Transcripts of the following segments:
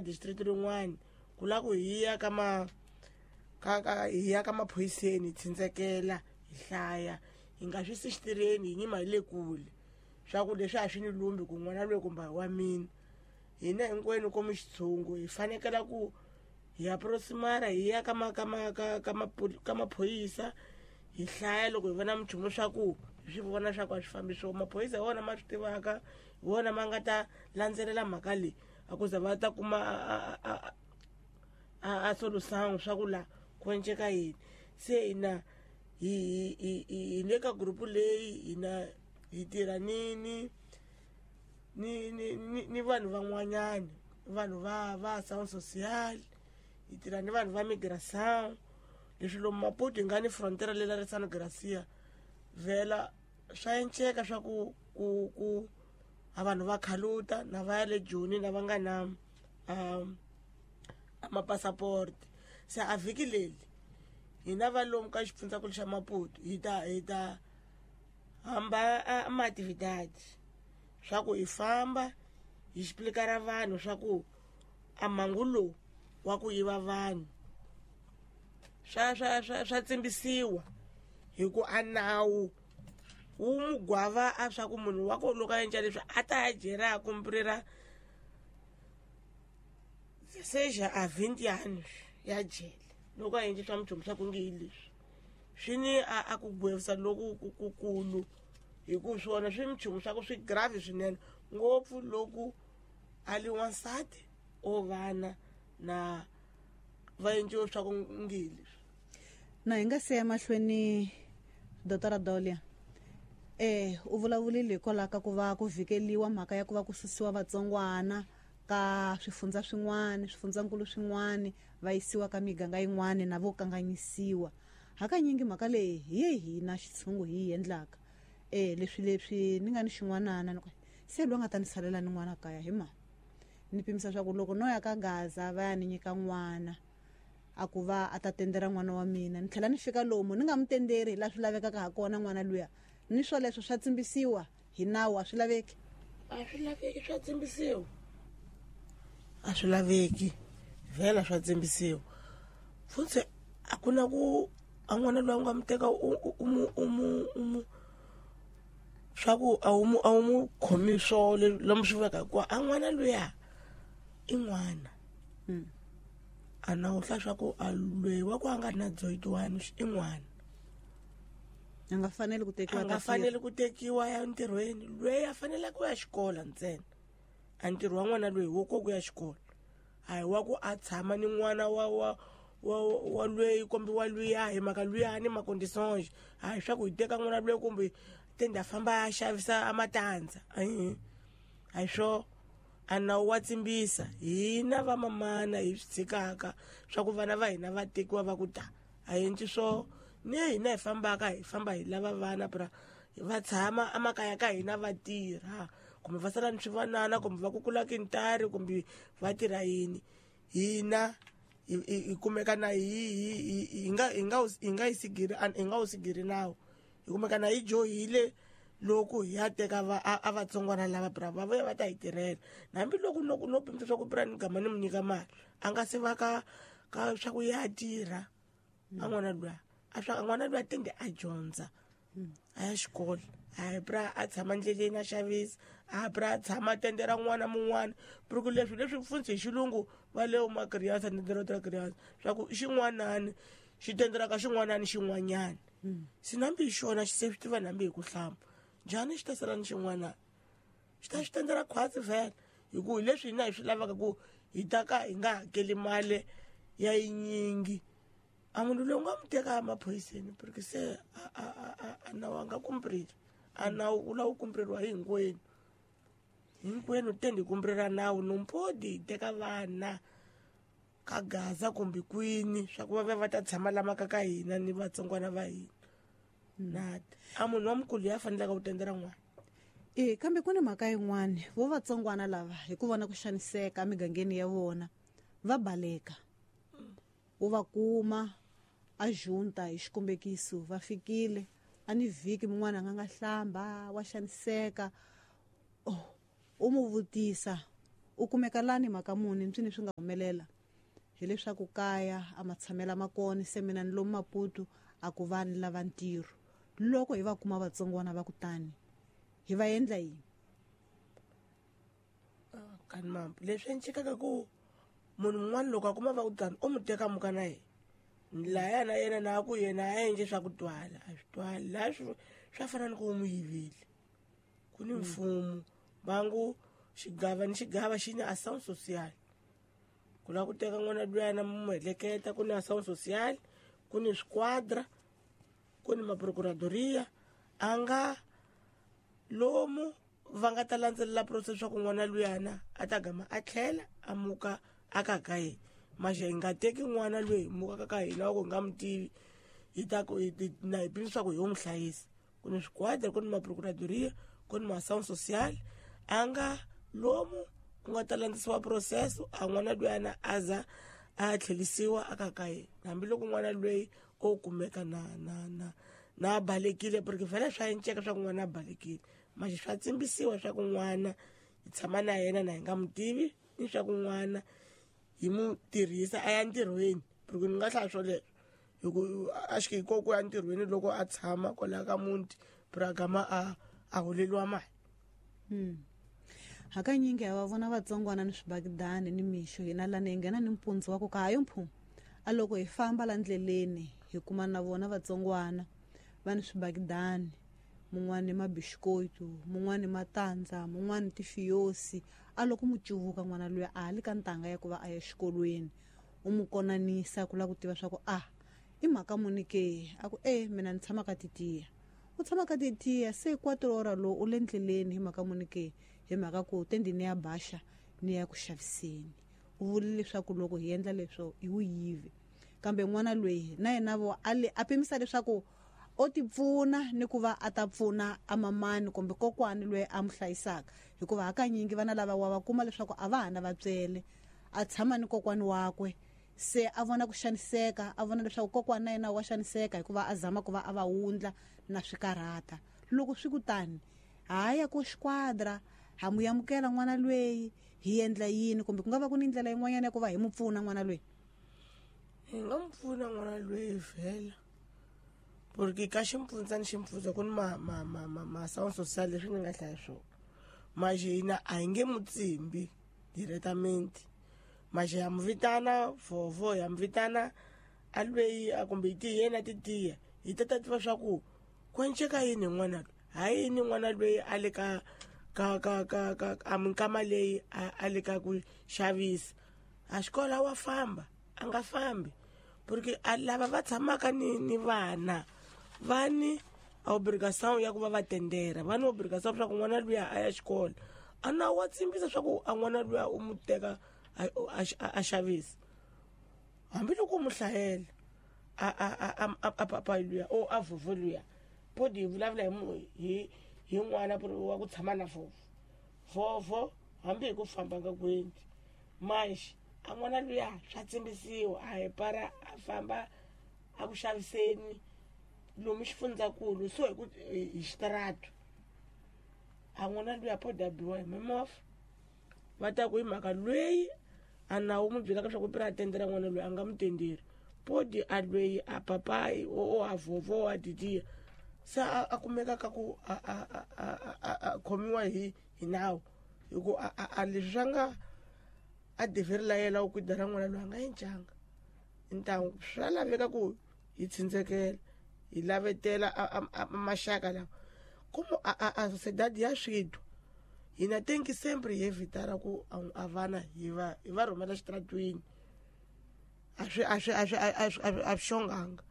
District rin'wana ku la ku hi ya ka ma ka ka hi ya ka maphoyiseni hi tshindzekela hi hlaya hi nga swi si xitirheni hi nyima hi le kule swa ku leswi a swi ni lumbi ku n'wana loyi kumbe wa mina. Hina hinkwenu komu xitshungu hi fanekela ku hi approximara hi ya ka ma ka ma ka ka ka maphorisa hi hlaya loko hi vona minchumu swa ku hi swi vona swa ku a swi fambi swona. Maphorisa hi wona ma swi tivaka, hi wona ma nga ta landzelela mhaka leyi a ku za va ta kuma a solution swa ku la ku enceka yini. Se hina hi hi hi hi le ka group leyi hina hi tirha ni ni ni ni ni ni vanhu van'wanyana, vanhu va sound social, hi tirha ni vanhu va migration. Leswi lomu Maputo hi nga ni frontier le la San Gracia vhela swa enceka swa ku ku ku a vanhu va khaluta na va ya le Joni na va nga na a mapassport. Se a vhiki leri hina va lomu ka xifundzankulu xa Maputo hi ta hamba a ma-actividade swa ku hi famba hi explicar vanhu swa ku a mhangu lowu wa ku yiva vanhu swa tsimbisiwa hi ku a nawu wu mugwava a swa ku munhu wa ko loko a endla leswi a ta ya jele a cumprir seja a 20 anos ya jele loko a endle swa minchumu swa ku nge hi leswi swi ni a ku gwevisa loku kukulu hi ku swona swi minchumu swa ku swi grave swinene ngopfu loko a li wansati o vana na va endliwe swa ku nge hi leswi. Na hi nga se ya mahlweni, Dr Dolia, u vulavulile hikwalaho ka ku va ku vhikeliwa mhaka ya ku va ku susiwa vatsongwana ka swifundza swin'wana, swifundzankulu swin'wana, va yisiwa ka miganga yin'wana na vo kanganyisiwa. Hakanyingi mhaka leyi hi ye hina xitshungu hi yi endlaka. Leswi ni nga ni xin'wanana ni ku se loyi a nga ta ni salela ni n'wana kaya hi mani. Ni pimisa swa ku loko no ya ka Gaza va ya ni nyika n'wana a ku va a ta tendera n'wana wa mina, ni tlhela ni fika lomu ni nga mu tenderi hi laha swi lavekaka ha kona n'wana luya, ni swoleswo swa tsimbisiwa hi nawu, a swi laveki. A swi laveki, swa tsimbisiwa, a swi laveki vhela swa tsimbisiwa futhi. A ku na ku a n'wana loyi u nga mu teka u mu swa ku a wu mu khomi swo lomu swi veka hikuva a n'wana luya i n'wana. A na wu hla swa ku a loyi wa ku a nga ri na 18 i n'wana. A nga faneli ku tekiwa. A nga faneli ku tekiwa ya ntirhweni. Loyi a faneleke ku ya xikolo ntsena, a ntirho wa n'wana loyi wo ko ku ya xikolo, a hi wa ku a tshama ni n'wana wa loyi kumbe wa luya hi mhaka luya ni ma-conditions. A hi swa ku hi teka n'wana loyi kumbe tende a famba a xavisa a matandza, a hi swo. A nawu wa tsimbisa. Hina vamamana hi swi tshikaka swa ku vana va hina va tekiwa va ku ta a endli swo ni hina hi fambaka hi famba hi lava vana bra va tshama emakaya ka hina va tirha kumbe va sala ni swivanana kumbe va kukula kintari kumbe va tirha yini. Hina hi kumeka na hi nga yi sigiri, hi nga wu sigiri nawu, hi kumeka na hi johile loko hi ya teka va a vatsongwana lava bra va vuya va ta hi tirhela. Hambiloko no pimisa swa ku bra ni gama ni mu nyika mali a nga se va ka swa ku ya tirha a n'wana luya a swa n'wana luya tende a dyondza a ya xikolo, a hi bra a tshama ndleleni a xavisa, a bra a tshama tendera n'wana mun'wana ku leswi pfunsi hi xilungu va le uma criança tendera outra criança swa ku xin'wanani xi tenderaka xin'wanani xin'wanyana. Se nambi hi xona xi se swi tiva nambi hi ku hlamba njhani xi ta sala ni xin'wanani xi ta xi tendera khwatsi vhela hi ku hi leswi hina hi swi lavaka ku hi ta ka hi nga hakeli mali ya yinyingi. A munhu loyi u nga mu teka emaphoyiseni porque se a nawu a nga kumpreli, a nawu wu lava ku kumpreriwa hi hinkwenu, hinkwenu tende hi kumprela nawu. No pode hi teka vana ka Gaza kumbe kwini swa ku va va va ta tshama lama ka hina ni vatsongwana va hina nada. A munhu wa mukulu ya fanelaka ku tendela n'wana. E kambe ku ni mhaka yin'wani vo vatsongwana lava hi ku vona ku xaniseka emigangeni ya vona va baleka, u va kuma a junta hi xikombekiso va fikile a ni vhiki mun'wana a nga hlamba wa xaniseka. Oh, u mu vutisa. U kumeka lani mhaka muni mpsini swi nga humelela? Hileswaku kaya a matshamela makona se mina ni lomu Maputo a ku va ni lava ntirho. Loko hi va kuma vatsongwana va kutani hi va endla yini? Kani mampu leswi encikaka ku munhu un'wana loko a kuma va ku tani u mu teka muka na yena laya na yena na ku yena a endle swa ku twala a swi twali laha swa fana ni ku u mu yivile. Ku ni mfumo vangu xigava ni xigava xi ni ação social ku lava ku teka n'wana luyana mu heleketa ku ni ação social ku ni swiquadra ku ni maprocuradoria a nga lomu va nga ta landzelela process swa ku n'wana luyana a ta gama a tlhela a muka a ka ka yena. Maxe hi nga teki n'wana loyi hi mukaka ka hina wa ku hi nga mu tivi hi ta ku na hi pimisa swa ku hi yo n'wi hlayisa. Ku ni swiquadra ku ni maprocuradoria ku ni ma-ação social a nga lomu ku nga ta landzisiwa process a n'wana luyana a za a tlhelisiwa a ka ka yena hambiloko n'wana loyi o kumeka na na na na balekile porque vhele swa enceka swa ku n'wana a balekile maxe swa tsimbisiwa swa ku n'wana hi tshama na yena na hi nga mu tivi ni swa ku n'wana hi mu tirhisa a ya ntirhweni porque ni nga hlaya swoleswo hi ku a xi ko ku ya ntirhweni loko a tshama kwalaya ka muti bragama a holeliwa mali. Hakanyingi ha va vona vatsongwana ni swibakidani ni mixo hina lani hi nghena ni mpundzu wa ku ka hayo mphumu a loko hi famba la ndleleni hi kuma na vona vatsongwana va ni swibakidani mun'wani mabishikotu mun'wani matandza mun'wani tifiyosi a loko mu cuvuka n'wana luya a ha le ka ntanga ya ku va a ya xikolweni u mu konanisa ku lava ku tiva swa ku a i mhaka muni ke a ku e mina ni tshama ka titiya u tshama ka titiya se 4 ora lowu u le ndleleni hi mhaka muni ke hi mhaka ku tendi ni ya baxa ni ya ku xaviseni u vule leswaku loko hi endla leswo hi wu yivi kambe n'wana loyi na yena vo a pimisa leswaku o ti pfuna ni ku va a ta pfuna a mamani kumbe kokwani loyi a mu hlayisaka hikuva hakanyingi vana lava wa va kuma leswaku a va ha na vatswele a tshama ni kokwani wakwe se a vona ku xaniseka a vona leswaku kokwani na yena wa xaniseka hikuva a zama ku va a va wundla na swikarhata loko swi kutani haya ko xiquadra ha mu amukela n'wana loyi hi endla yini kumbe ku nga va ku ni ndlela yin'wanyana ya ku va hi mu pfuna n'wana loyi hi nga mu pfuna n'wana loyi vhela porque ka ximpfundza ni ximpfundza ku ni ma-sound social leswi ni nga hlaya swona maxe hina a hi nge mu tsimbi directamente maxe ya mu vitana vovo ya mu vitana a lweyi kumbe hi ti yena ti tiya hi ta ta tiva swa ku ku enceka yini hi n'wana loyi ha yini n'wana loyi a le ka ka ka ka ka a minkama leyi a le ka ku xavisa a xikolo wa famba a nga fambi porque a lava va tshamaka ni vana va ni obrigação ya ku va va tendera va ni obrigação swa ku n'wana luya a ya xikolo a na wa tsimbisa swa ku a n'wana luya u mu teka a xavisa hambiloko u mu hlayela a papa luya o a vovo luya podi hi vulavula hi hi n'wana wa ku tshama na vovo vovo hambi hi ku famba nga ku endli manxe a n'wana luya swa tsimbisiwa a hi para a famba a ku xaviseni lomu xifundzankulu so hi ku hi xitaratu a n'wana luya po biwa hi mimovha va ta ku hi mhaka loyi a nawu mu byelaka swa ku pira a tendela n'wana loyi a nga mu tenderi podi a loyi a papayi o a vovo a didiya se a kumeka ka ku a khomiwa hi nawu hi ku a leswi swa nga a deveri la yena ku dara n'wana loyi a nga encanga ntangu swa laveka ku hi tshindzelekela hi lavetela maxaka lawa como a sociedade ya switwa hina tem que sempre evitar ku a vana hi va rhumela xitaratweni a swi a swi a swi a swi xonganga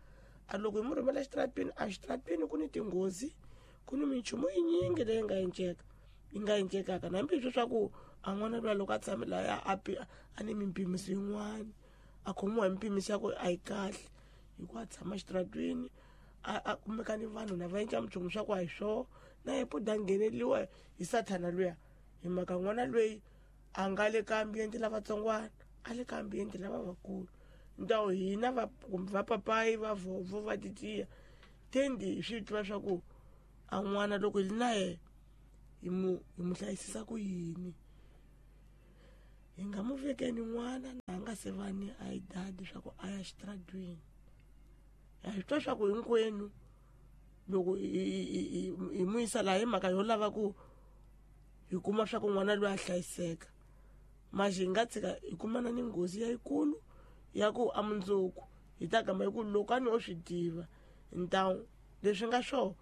a loko hi mu rhumela xitaratweni a xitaratweni ku ni tinghozi ku ni minchumu yinyingi leyi nga enceka yi nga encekaka na hambi swa ku a n'wana luya loko a tshame laya a ni mimpimiso yin'wana a khomiwa hi mpimiso ya ku a yi kahle hi ku a tshama xitaratweni a kumeka ni vanhu na va endla minchumu swa ku a hi swoho na ye poda ngheneliwa hi sathana luya hi mhaka n'wana loyi a nga le ka ambiente lavatsongwana a le ka ambiente lava vakulu ntawo hina va kumbe va papayi va vovo va titiya tendi hi swi tiva swa ku a n'wana loko hi ri na yena hi mu hlayisisa ku yini. Hi nga mu vekeni n'wana na nga se va ni idadi swa ku a ya xitaratweni. Ha swi twa swa ku hinkwenu loko hi mu yisa laha hi mhaka yo lava ku hi kuma swa ku n'wana loyi a hlayiseka. Manje hi nga tshika hi kumana ni nghozi yayikulu ya ku a mundzuku hi ta gama hi ku loko a ni o swi tiva ntawu leswi nga swona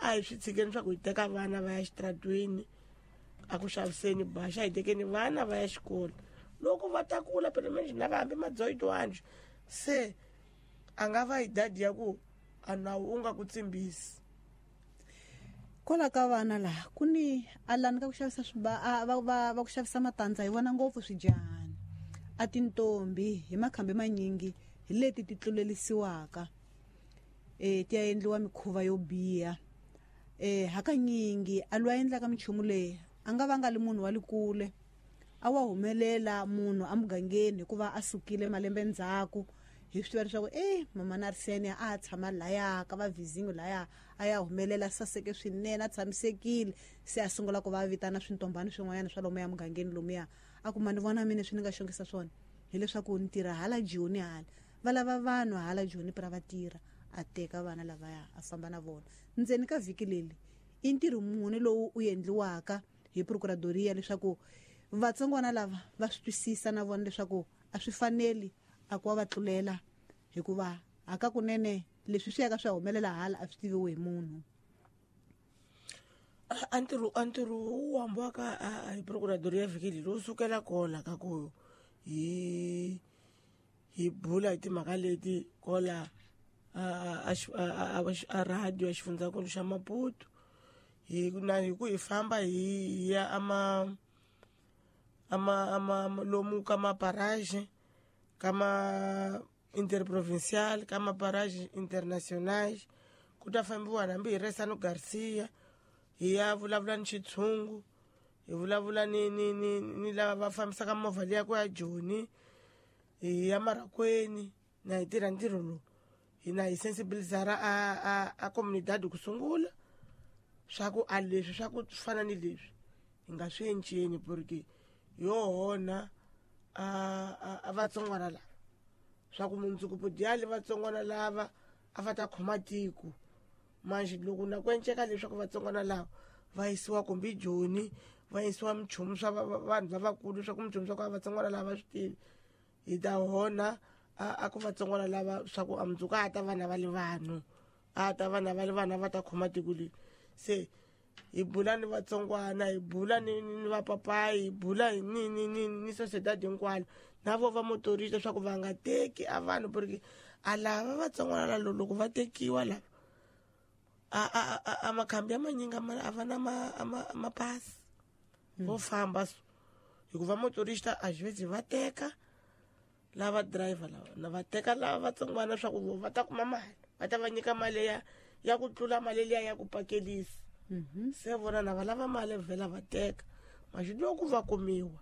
a hi swi tshikeni swa ku hi teka vana va ya xitaratweni a ku xaviseni baxa hi tekeni vana va ya xikolo loko va ta kula phela manjhe na va hambi madzoyitwanje se a nga va hi dadi ya ku a nawu u nga ku tsimbisi. Kwala ka vana laha ku ni alani ka ku xavisa va ku xavisa matandza hi vona ngopfu swidyahani a tintombi hi makhambi manyingi hi leti ti tlulelisiwaka ti ya endliwa mikhuva yo biha. Hakanyingi a lwa endlaka minchumu leyi a nga va nga li munhu wa le kule a wa humelela munhu emugangeni hikuva a sukile malembe ndzhaku hi swi tiva leswaku mama na Arsenia a tshama laya ka va vizingo laya a ya humelela saseke swinene a tshamisekile se a sungula ku va vitana swintombani swin'wanyana swa lomuya mugangeni lomuya a kuma ni vona mina swi ni nga xongisa swona hileswaku ni tirha hala Joni hala va lava vanhu hala Joni pra va tirha a teka vana lavaya a famba na vona ndzeni ka vhiki leri i ntirho muni lowu u endliwaka hi procuradoria leswaku vatsongwana lava va swi twisisa na vona leswaku a swi faneli a ku va va tlulela hikuva hakakunene leswi swi yaka swi humelela hala a swi tiviwi hi munhu. A ntirho wu hambiwaka hi procuradoria vhiki leri wu sukela kola ka ku hi bula hi timhaka leti kola a radio ya xifundzankulu xa Maputo hi na hi ku hi famba hi ya ama ama ama lomu ka maparage ka ma interprovincial ka maparage international ku ta fambiwa hambi hi Resano Garcia hi ya vulavula ni xitshungu hi vulavula ni ni ni ni lava va fambisaka movha liya ku ya Joni hi ya Marakweni na hi tirha ntirho lowu hina hi sensibilizara a comunidade ku sungula swa ku a leswi swa ku fana ni leswi hi nga swi enceni porque yo hona a vatsongwana lava swa ku mundzuku pudyali vatsongwana lava a va ta khoma tiko manje loko na ku enceka leswaku vatsongwana lava va yisiwa kumbe Joni va yisiwa minchumu swa vanhu lavakulu swa ku minchumu swa ku a vatsongwana lava swi tivi hi ta hona a ku vatsongwana lava swa ku a mundzuku a ta vana va le vanhu a ta vana va le vana va ta khoma tiko leri se hi bula ni vatsongwana hi bula ni vapapayi hi bula ni ni ni ni sociedad hinkwalo na vo va motorista leswaku va nga teki a vanhu porque a lava vatsongwana lava loko va tekiwa lava a makhambi ya manyingi a va na mapasi vo famba so hikuva motorista a xivezi va teka lava driver lava na va teka lava vatsongwana swa ku va ta kuma mali va ta va nyika mali ya ku tlula mali liya ya ku pakelisa. Se vona na va lava mali vhela va teka maxi loko va kumiwa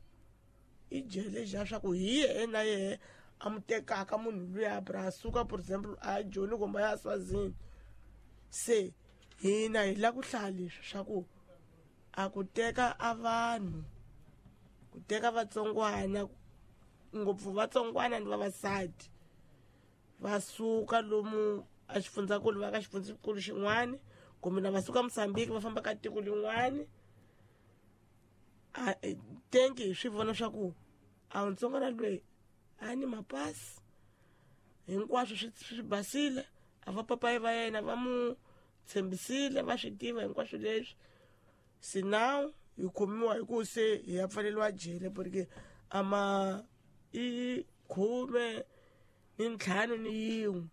i jele xa swa ku hi yehe na yehe a mu tekaka munhu luya bra suka for example a Joni kumbe a ya Swazini. Se hina hi la ku hlaya leswi swa ku a ku teka a vanhu ku teka vatsongwana ngopfu vatsongwana ni vavasati va suka lomu a xifundzankulu va ka xifundzankulu xin'wana kumbe na va suka Mozambique va famba ka tiko lin'wana a tenki hi swi vona swa ku a ntsongwana loyi a ni mapasi hinkwaswo swi basile a va papayi va yena va mu tshembisile va swi tiva hinkwaswo leswi se now hi khomiwa hi ku se hi ya pfaleriwa jele porque ama i 15 ni 1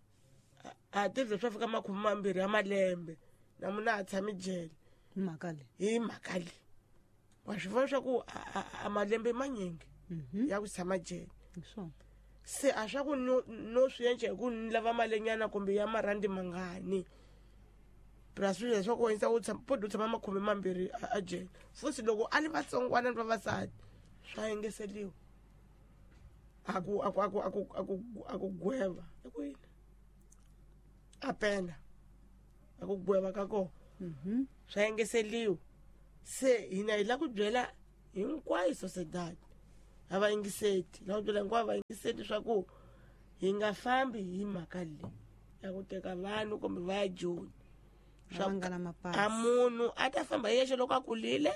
a tirhi swa fika 20 ya malembe na munhu a tshami jele mhaka leyi hi mhaka leyi wa swi vona swa ku a malembe manyingi ya ku tshama jele se a swa ku no swi endla hi ku ni lava malenyana kumbe ya marandi mangani plus swilo leswaku wena u tshama podi u tshama 20 a jele futhi loko a li vatsongwana ni vavasati swa engeseliwa a ku a ku a ku a ku a ku a ku gweva i ku yini a pena a ku gweva ka kona swa engeseliwa se hina hi la ku byela hinkwayo sociedad A va yingiseti la ku byela hinkwavo va yingiseti swa ku hi nga fambi hi mhaka leyi ya ku teka vanhu kumbe va ya Joni. Lava nga na mapasi. A munhu a ta famba hi yexe loko a kulile,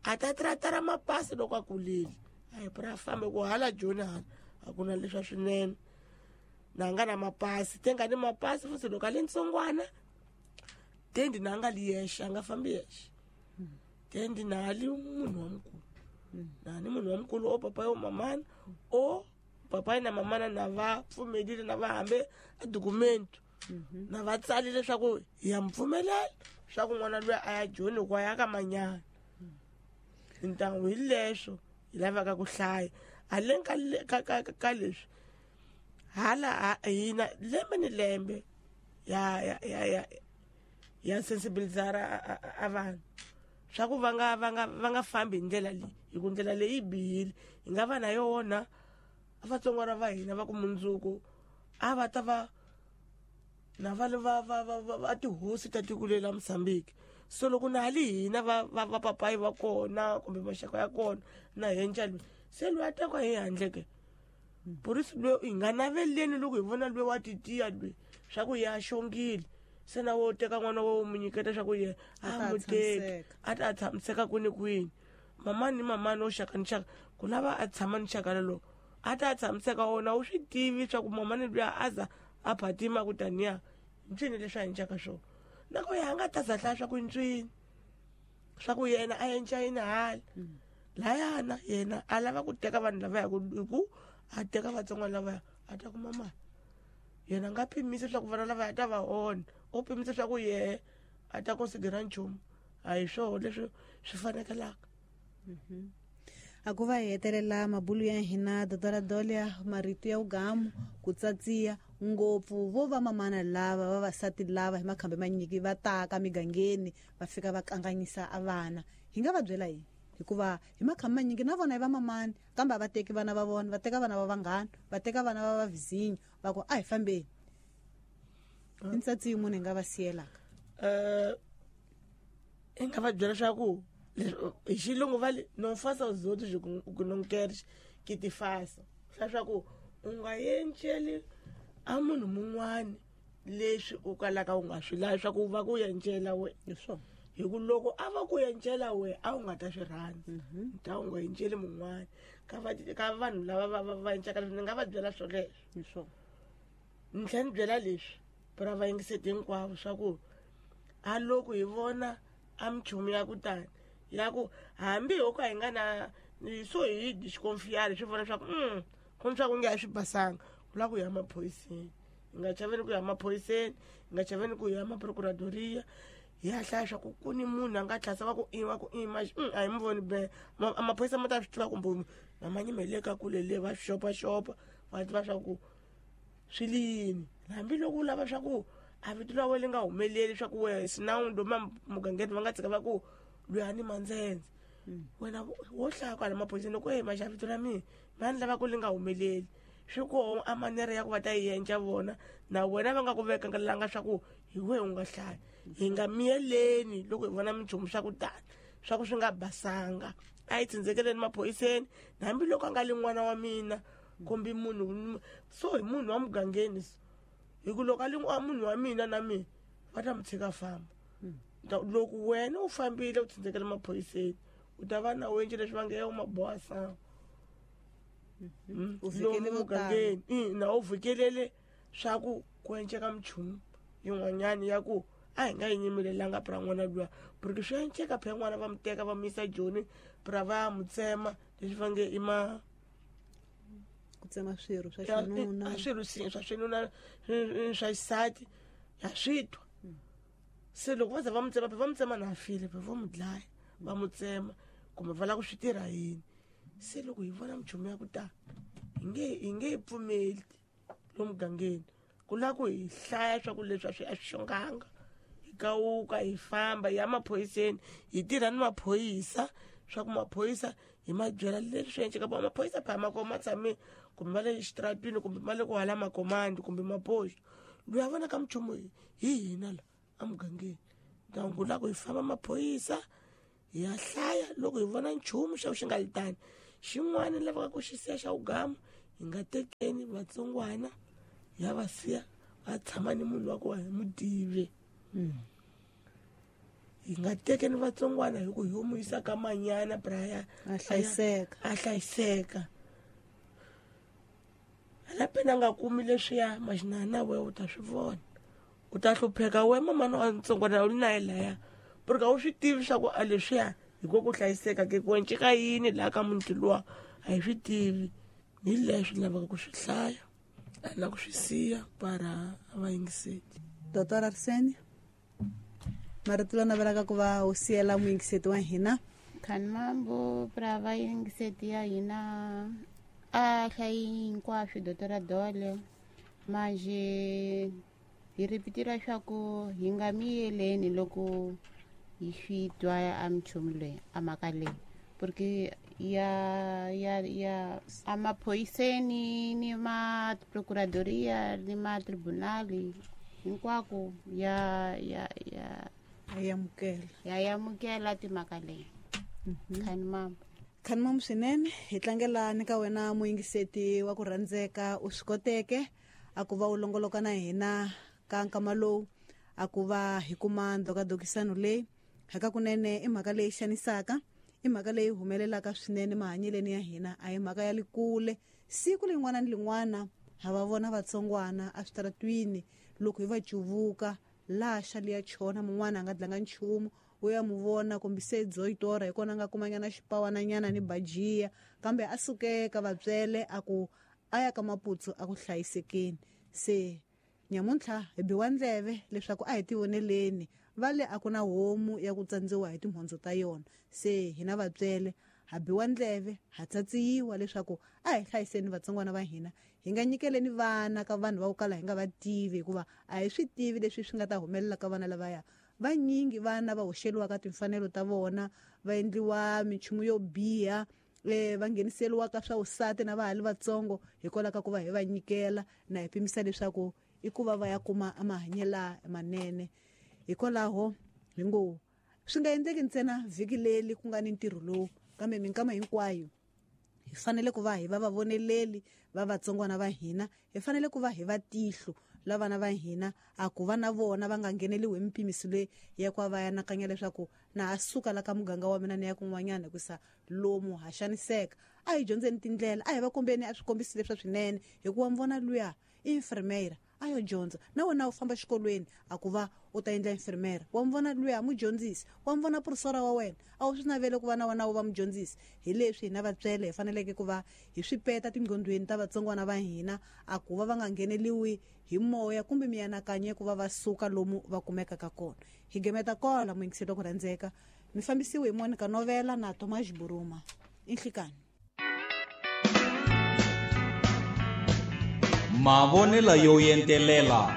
a ta tratara mapasi loko a kulile. A hi pra fambe ku hala Joni hala a ku na leswa swinene. Na nga na mapasi, te nga ni mapasi futhi loko a le ntsongwana, tendi na nga li yexe, a nga fambi yexe. Tendi na li munhu wa mukulu. Na ni munhu wa mukulu o papa yo mamana, o papa na mamana na va pfumelile na va hambe a documento. Na va tsalile leswaku hi ya mi pfumelela swa ku n'wana loyi a ya Joni ku a ya ka manyana. Ntangu hi leswo hi lavaka ku hlaya. Haleni ka leswi hala hina lembe ni lembe ya sensibilizara a vanhu swa ku va nga fambi hi ndlela leyi, hi ku ndlela leyi yi bihile. Hi nga va na yona a vatsongwana va hina va ku mundzuku a va ta va na va le va tihosi ta tiko leri la Mozambique. So loko na hali hina va papayi va kona kumbe maxaka ya kona na henca loyi se loyi a tekiwa hi handle ke. Polisi loyi hi nga naveleni loko hi vona loyi wa titiya loyi swa ku ya xongile, se na wo teka n'wana wa wu n'wi nyiketa swa ku yena a A ta n'wi teki, tshamiseka. a ta tshamiseka kwini kwini. Mamani ni mamani wo xaka ni xaka, ku lava a tshama ni xaka lelo a ta tshamiseka wona u swi tivi swa ku mamani luya a za a phatima ku taniya ntswini leswi a encaka swona. Na ku ya nga ta za hlaya swa ku ntswini swa ku yena a enca yini hala. Layana yena a lava ku teka vanhu lava ya ku hi ku a teka vatsongwana lavaya a ta kuma mali. Yena a nga pimisi leswaku vana lava ya ta va onha, u pimisa leswaku yehe a ta considera nchumu. A hi swona leswi swi fanekelaka. A ku va hi hetelela mabulu ya hina Dr. Dolia, marito ya ugamu ku tsatsiya ngopfu vo va mamana lava vavasati lava hi makhambi manyiki va taka migangeni va fika va kanganyisa a vana. Hi nga va byela yini? Hikuva hi makhambi manyingi na vona i va mamani, kambe a va teki vana va vona, va teka vana va vanghana, va teka vana va vavizinyo, va ku a hi fambeni. I ntsatsi yin'wana hi nga va siyelaka. I nga va byela leswaku hi xilungu va le no fasa zoto byi ku no queres que te faça. Leswaku u nga enceli a munhu mun'wani leswi u kalaka u nga swi lavi swa ku va ku encela we. Hi swona. Hi ku loko a va ku encela we a wu nga ta swi rhandza. Ta u nga enceli mun'wani. Ka vanhu lava va encaka leswi, ni nga va byela swoleswo. Hi swona. Ni tlhela ni byela leswi pra va yingiseti hinkwavo swa ku a loko hi vona a minchumu ya ku tani ya ku hambi ho ka hi nga na so hi disconfiari swi vona leswaku, ku ni swa ku nge a swi basanga, ku lava ku ya maphoyiseni. Hi nga chaveni ku ya maphoyiseni, hi nga chaveni ku ya maprokuradoria, hi ya hlaya swa ku ku ni munhu a nga tlhasa va ku i, va ku i, ma, a hi mi voni be. A maphorisa ma ta swi tiva kumbe na ma nyimele ka kule le va swi xopaxopa, va tiva swa ku swi le yini. Hambi loko u lava swa ku a vito ra wena li nga humeleli swa ku wehe sinawundo ma mugangeni va nga tshika va ku loyi a ni mandzendze. Wena wo hlaya kwala maphoyiseni loko e maxa vito ra mina, mani lava ku li nga humeleli. Swi koho a manere ya ku va ta yi endla vona, na wena va nga ku vekelanga swa ku hi wehe u nga hlaya. Hi nga miyeleni loko hi vona minchumu swa ku tani, swa ku swi nga basanga. A hi tsindzekeleni maphoyiseni, na hambi loko a nga li n'wana wa mina kumbe munhu, so hi munhu wa mugangeni so. Hi ku loko a li munhu wa mina na mina, va ta mi tshika famba. Loko wena u fambile u tsindzekela maphoyiseni, u ta va na wendle leswi va nge u maboha sangu. U vhikele Lomu vo tala. mugangeni. Na u vhikelele swa ku ku enceka minchumu yin'wanyana ya ku a hi nga yi nyimelelanga pra n'wana luya. Porque swi enceka phela n'wana va mi teka va mi yisa Joni, pra va ya mu tsema, leswi va nge i ma Ku tsema swirho swa Ya, xinuna. a swirho swa xinuna, swa xisati, ya swi twa. Se loko va za va mu tsema, va mu tsema na file, va mu dlaya, va mu tsema, kumbe va lava ku swi tirha yini. Se loko hi vona minchumu ya ku tala, hi nge yi pfumeli lomu mugangeni. Ku lava ku hi hlaya swa ku leswi a swi xonganga. Hi kawuka, hi famba, hi ya maphoyiseni, hi tirha ni maphorisa, swa ku maphorisa hi ma byela leswi swi endlekaka. Va maphorisa phela ma kona ma tshame kumbe ma le xitaratini kumbe ma le ku hala makomandi kumbe mapoxo. Loyi a vonaka minchumu hi hina la emugangeni. Ntangu ku lava ku hi famba maphorisa, hi ya hlaya loko hi vona nchumu xa ku xi nga li tani, Xin'wana lavaka ku xi siya xa wugama, hi nga tekeni vatsongwana ya va siya va tshama ni munhu wa ku hi mu tivi. Hi nga tekeni vatsongwana hi ku hi mu yisa ka manyana braya a hlayiseka, a hlayiseka. Hala pena a nga kumi leswiya maxinana we u ta swi vona, u ta hlupheka we mamana wa ntsongwana u ri na ye laya, porque a wu swi tivi swa ku a leswiya hi ko ku hlayiseka ke ku enceka yini laha ka muti luwa, a hi swi tivi. Hi leswi lavaka ku swi hlaya a na ku swi siya para a va yingiseti. Doctor Arsene, marito lawa navelaka ku va u siyela muyingiseti wa hina. Khanimambo pra va yingiseti ya hina a hlayi hinkwaswo Doctor Dole, manje hi ripitira swa ku hi nga miyeleni loko hi swi twa a minchumu leyi a mhaka leyi, porque ya ya ya a maphoyiseni ni ma procuradoria ni ma tribunali hinkwako ya ya ya ya amukela, ya amukela timhaka leyi. Khanimambo, Khanimambo swinene, hi tlangela ni ka wena muyingiseti wa ku rhandzeka, u swi koteke a ku va u longoloka na hina ka nkama lowu a ku va hi kuma ndhokadokisano leyi. Hakakunene i mhaka leyi xanisaka, i mhaka leyi humelelaka swinene mahanyeleni ya hina, a hi mhaka ya le kule. Siku lin'wana ni lin'wana ha va vona vatsongwana eswitaratwini loko hi va cuvuka laha xa liya chona, mun'wana a nga dlanga nchumu, u ya mu vona kumbe se dzoyitora hi kona a nga kumanyana xipawananyana ni bajiya, kambe a sukeka vatswele a ku a ya ka Maputsu a ku hlayisekeni. Se nyamuntlha hi biwa ndleve leswaku a hi tivoneleni, va le a ku na homu ya ku tsandziwa hi timhondzo ta yona. Se hina vatswele ha biwa ndleve, ha tsatsiyiwa leswaku a hi hlayiseni vatsongwana va hina, hi nga nyikeleni vana ka vanhu va ku kala hi nga va tivi, hikuva a hi swi tivi leswi swi nga ta humelela ka vana lavaya. Vanyingi vana va hoxeliwa ka timfanelo ta vona, va endliwa minchumu yo biha, va ngheniseriwa ka swa vusati na va ha li vatsongo hikwalaho ka ku va hi va nyikela na hi pimisa leswaku i ku va va ya kuma mahanyelo manene. Hikwalaho hi ngo swi nga endleki ntsena vhiki leri ku nga ni ntirho lowu, kambe minkama hinkwayo hi fanele ku va hi va vavoneleli va vatsongwana va hina, hi fanele ku va hi va tihlo la vana va hina, a ku va na vona va nga ngheneliwi hi mipimiso leyi ya ku va va anakanya leswaku na ha suka la ka muganga wa mina ni ya kun'wanyana hikusa lomu ha xaniseka. A hi dyondzeni tindlela, a hi va kombeni a swikombiso leswa swinene, hikuva mi vona luya i enfermeira a yo dyondza, na wena u famba xikolweni a ku va u ta endla enfermeira, wa mi vona luya mudyondzisi, wa mi vona professor wa wena, a wu swi navele ku va na wena u va mudyondzisi. Hi leswi hina vatswele hi faneleke ku va hi swi peta tinqondweni ta vatsongwana va hina, a ku va va nga ngheneliwi hi moya kumbe mianakanyo ku va va suka lomu va kumekaka kona. Hi gemeta kola muyingiseli wa ku rhandzeka, mi fambisiwe hi Monica Novela na Thomas Buruma. Inhlikani. Mavonelo yo entelela.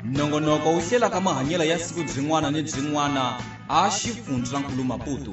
Nongonoko wu hlelaka mahanyelo ya siku byin'wana ni byin'wana a xifundzankulu Maputo.